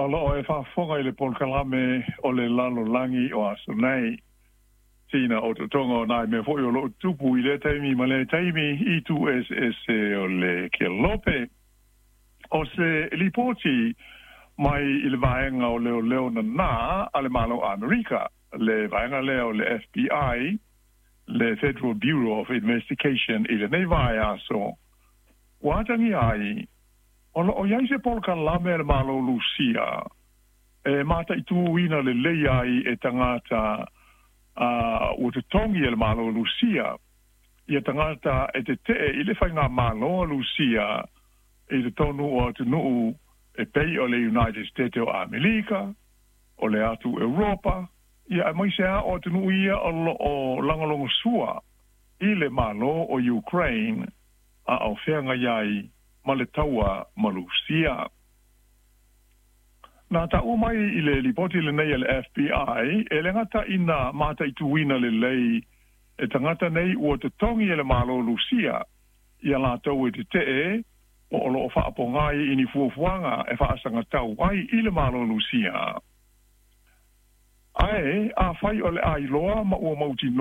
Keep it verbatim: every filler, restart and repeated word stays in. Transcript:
O loo e faafofoga i le polokalame o le lalolagi o aso nei. Sina o totoga o nai mea foi o loo tupu i lea taimi ma lea taimi i itu eseese o le kelope. O se lipoti mai i le vaega o leoleo nanā a le Malo Amerika, le vaega lea o le F B I, le Federal Bureau of Investigation, i lenei vaiaso ua atagia ai o loo i ai se polokalame a le Malo Lusia e mataituina lelei ai e tagata uh, ua totogi e le Malo Lusia ia tagata e tetee i le faigamalo a Lusia i totonu o atunuu e pei o le United States o Amerika, o le atu Europa, ia aemaise a o atunuu ia o loo lagolagosua i le Malo o Ukraine a o feagai ai ma le taua ma Lusia. Na taua mai i le lipoti lenei a le F B I, e le gata ina mataituina lelei e tagata nei ua totogi e le Malo Lusia ia latou e tetee po o loo faapogai i ni fuafuaga e faasagatau ai i le Malo Lusia. Ae afai o le ailoa ma ua mautinoa